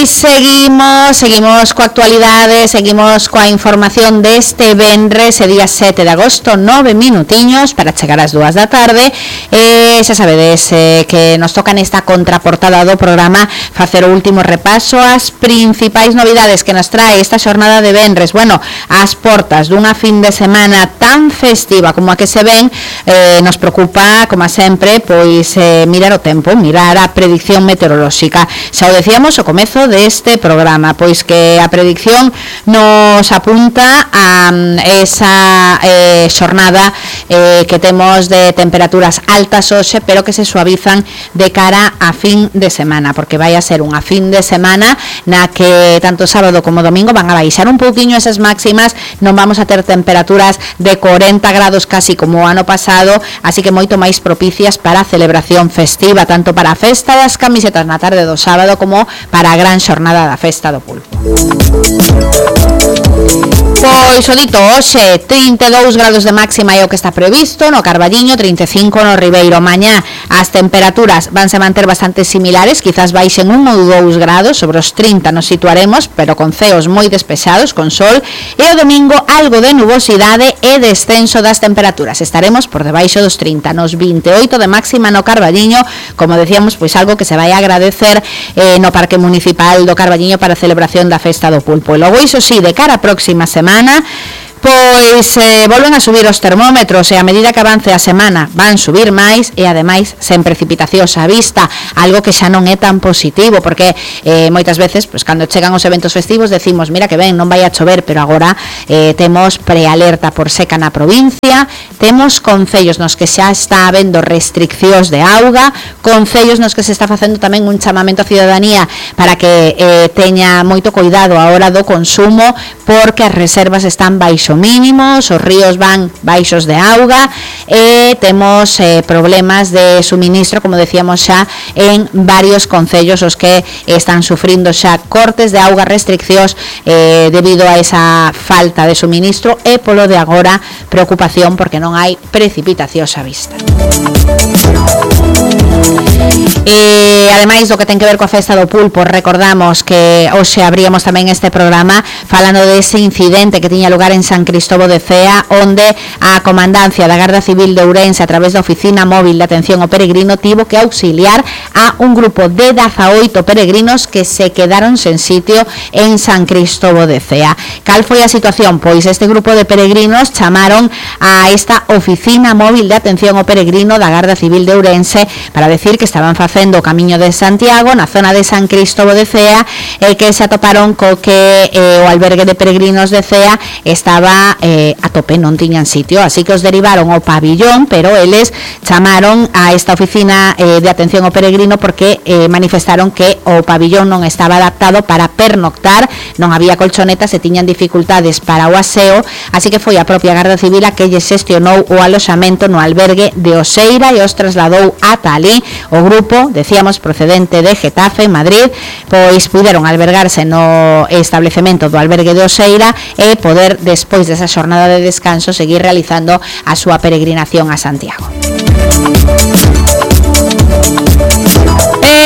Pois seguimos coa actualidade, seguimos coa información deste venres, día 7 de agosto, 9 minutiños para chegar ás 2 da tarde. Xa sabedes que nos toca nesta contraportada do programa facer o último repaso ás principais novidades que nos trae esta xornada de venres. Bueno, ás portas dunha fin de semana tan festiva como a que se ven, nos preocupa, como sempre, pois mirar o tempo, mirar a predicción meteorolóxica. Xa o decíamos ao comezo deste programa, pois que a predicción nos apunta a esa xornada que temos de temperaturas altas hoxe, pero que se suavizan de cara a fin de semana, porque vai a ser unha fin de semana na que tanto sábado como domingo van a baixar un pouquiño esas máximas, non vamos a ter temperaturas de 40 grados casi como o ano pasado, así que moito máis propicias para a celebración festiva, tanto para a festa das camisetas na tarde do sábado como para a gran xornada da festa do pulpo. Pois o dito, hoxe 32 grados de máxima é o que está previsto no Carballiño, 35 no Ribeiro. Mañá as temperaturas vanse manter bastante similares, quizás baixen 1 ou 2 grados, sobre os 30 nos situaremos, pero con ceos moi despexados, con sol, e o domingo algo de nubosidade e descenso das temperaturas. Estaremos por debaixo dos 30, nos 28 de máxima no Carballiño, como decíamos, pois algo que se vai a agradecer no Parque Municipal do Carballiño para a celebración da Festa do Pulpo. E logo, iso sí, de cara a próxima semana, pois volven a subir os termómetros e a medida que avance a semana van subir máis e ademais sen precipitacións á vista, algo que xa non é tan positivo, porque moitas veces, pois, cando chegan os eventos festivos decimos, mira que ben, non vai a chover, pero agora temos prealerta por seca na provincia, temos concellos nos que xa está habendo restriccións de auga, concellos nos que se está facendo tamén un chamamento á ciudadanía para que teña moito cuidado a hora do consumo, porque as reservas están baixo mínimos, os ríos van baixos de auga e temos problemas de suministro, como decíamos xa, en varios concellos os que están sufrindo xa cortes de auga, restriccións debido a esa falta de suministro e polo de agora preocupación porque non hai precipitacións á vista. E ademais do que ten que ver coa festa do pulpo, recordamos que hoxe abríamos tamén este programa falando dese incidente que tiña lugar en San Cristóbal de Cea, onde a comandancia da Garda Civil de Ourense, a través da Oficina Móvil de Atención ao Peregrino, tivo que auxiliar a un grupo de 18 peregrinos que se quedaron sen sitio en San Cristóbal de Cea. Cal foi a situación? Pois este grupo de peregrinos chamaron a esta Oficina Móvil de Atención ao Peregrino da Garda Civil de Ourense para decir que estaban facendo o Camiño de Santiago na zona de San Cristóbal de Cea e que se atoparon co que o albergue de peregrinos de Cea estaba a tope, non tiñan sitio, así que os derivaron ao pabillón, pero eles chamaron a esta oficina de atención ao peregrino porque manifestaron que o pabillón non estaba adaptado para pernoctar, non había colchonetas e tiñan dificultades para o aseo, así que foi a propia Garda Civil a que lle xestionou o aloxamento no albergue de Oseira e os trasladou ata ali. O grupo, decíamos, procedente de Getafe, Madrid, pois puderon albergarse no establecemento do albergue de Oseira e poder, despois desa xornada de descanso, seguir realizando a súa peregrinación a Santiago.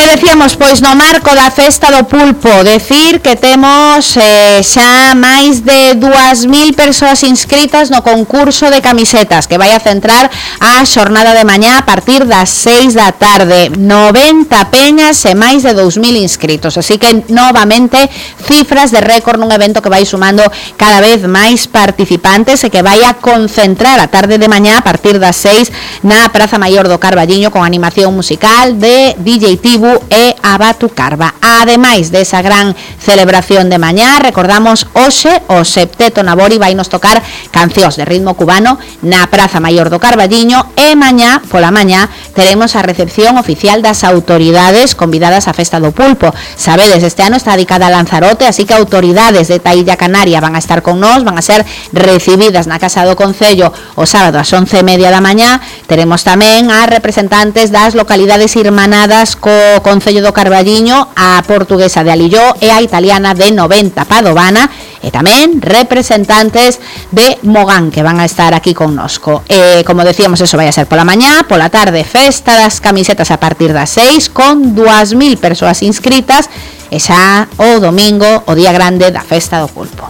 Decíamos, pois, no marco da Festa do Pulpo, decir que temos xa máis de 2.000 persoas inscritas no concurso de camisetas que vai a centrar a xornada de mañá a partir das 6 da tarde. 90 peñas e máis de 2.000 inscritos, así que novamente cifras de récord nun evento que vai sumando cada vez máis participantes e que vai a concentrar a tarde de mañá a partir das 6 na Praza Maior do Carballiño con animación musical de DJ Tibu e a Batucarva. Ademais desa gran celebración de mañá, recordamos hoxe o Septeto Nabori vai nos tocar cancións de ritmo cubano na Praza Maior do Carballiño e mañá, pola mañá, teremos a recepción oficial das autoridades convidadas á Festa do Pulpo. Sabedes, este ano está dedicada a Lanzarote, así que autoridades de Illa Canaria van a estar con nós, van a ser recibidas na Casa do Concello o sábado ás 11:30 da mañá. Teremos tamén a representantes das localidades irmanadas co Concello do Carballiño, a portuguesa de Alilló e a italiana de 90 Padovana, e tamén representantes de Mogán que van a estar aquí connosco. Como decíamos, eso vai a ser pola mañá, pola tarde festa das camisetas a partir das 6 con 2.000 persoas inscritas e xa o domingo, o día grande da festa do pulpo.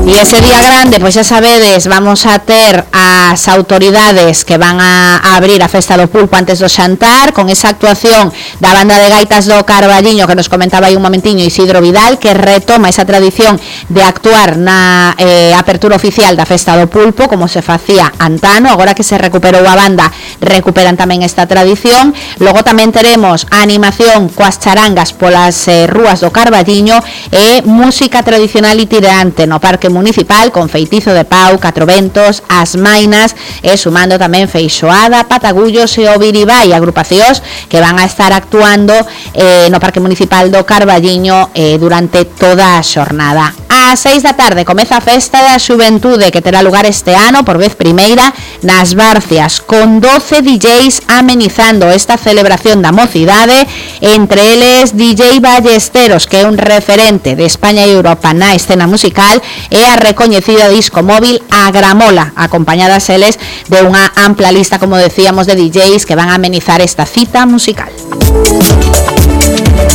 E ese día grande, pois xa sabedes, vamos a ter as autoridades que van a abrir a festa do pulpo antes do xantar, con esa actuación da banda de gaitas do Carballiño que nos comentaba aí un momentiño Isidro Vidal, que retoma esa tradición de actuar na apertura oficial da festa do pulpo, como se facía antano. Agora que se recuperou a banda, recuperan tamén esta tradición. Logo tamén teremos a animación coas charangas polas rúas do Carballiño e música tradicional itinerante no Parque Municipal con feitizo de pau, catro ventos, as mainas e sumando tamén feixoada, patagullos e o biribái, agrupacións que van a estar actuando no Parque Municipal do Carballiño durante toda a xornada. Ás 6 da tarde comeza a festa da xuventude que terá lugar este ano por vez primeira nas Barcias, con 12 DJs amenizando esta celebración da mocidade, entre eles DJ Ballesteros, que é un referente de España e Europa na escena musical, e a recoñecida disco móvil Agramola, acompañadas eles de unha ampla lista, como decíamos, de DJs que van a amenizar esta cita musical.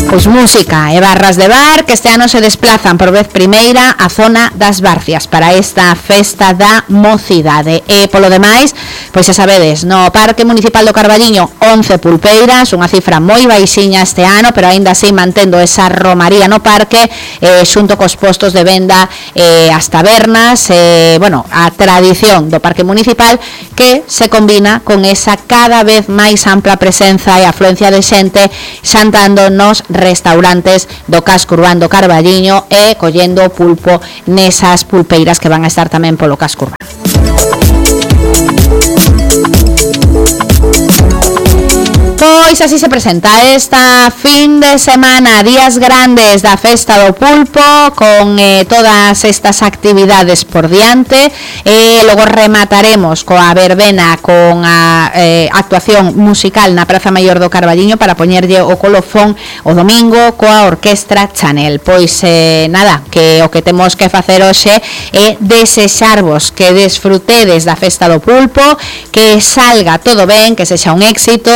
Pois música e barras de bar que este ano se desplazan por vez primeira á zona das Barcias para esta festa da mocidade. E polo demais, pois xa sabedes, no Parque Municipal do Carballiño 11 pulpeiras, unha cifra moi baixiña este ano, pero aínda así mantendo esa romaría no parque, xunto cos postos de venda, as tabernas, bueno, a tradición do Parque Municipal que se combina con esa cada vez máis ampla presenza e afluencia de xente xantando nos restaurantes do casco urbano do Carballiño e collendo pulpo nesas pulpeiras que van a estar tamén polo casco urbano. Pois así se presenta esta fin de semana, días grandes da festa do pulpo, con todas estas actividades por diante, e logo remataremos coa verbena, con a actuación musical na Praza Maior do Carballiño para poñerlle o colofón o domingo coa Orquestra Chanel. Pois nada, que o que temos que facer hoxe é desexarvos que desfrutedes da festa do pulpo, que salga todo ben, que sexa un éxito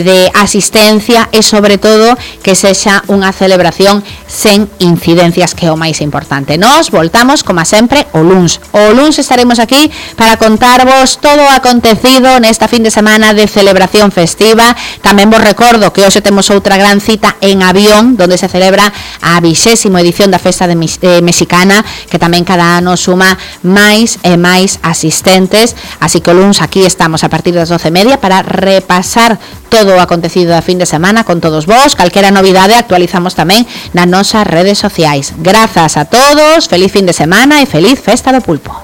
de asistencia e sobre todo que sexa unha celebración sen incidencias, que é o máis importante. Nos voltamos, como sempre, o luns. O luns estaremos aquí para contarvos todo o acontecido nesta fin de semana de celebración festiva. Tamén vos recordo que hoxe temos outra gran cita en Avión, donde se celebra a 20ª edición da Festa Mexicana, que tamén cada ano suma máis e máis asistentes. Así que o luns aquí estamos a partir das 12:30 para repasar todo o acontecido da fin de semana con todos vos. Calquera novidade actualizamos tamén nas nosas redes sociais. Grazas a todos, feliz fin de semana e feliz festa do pulpo.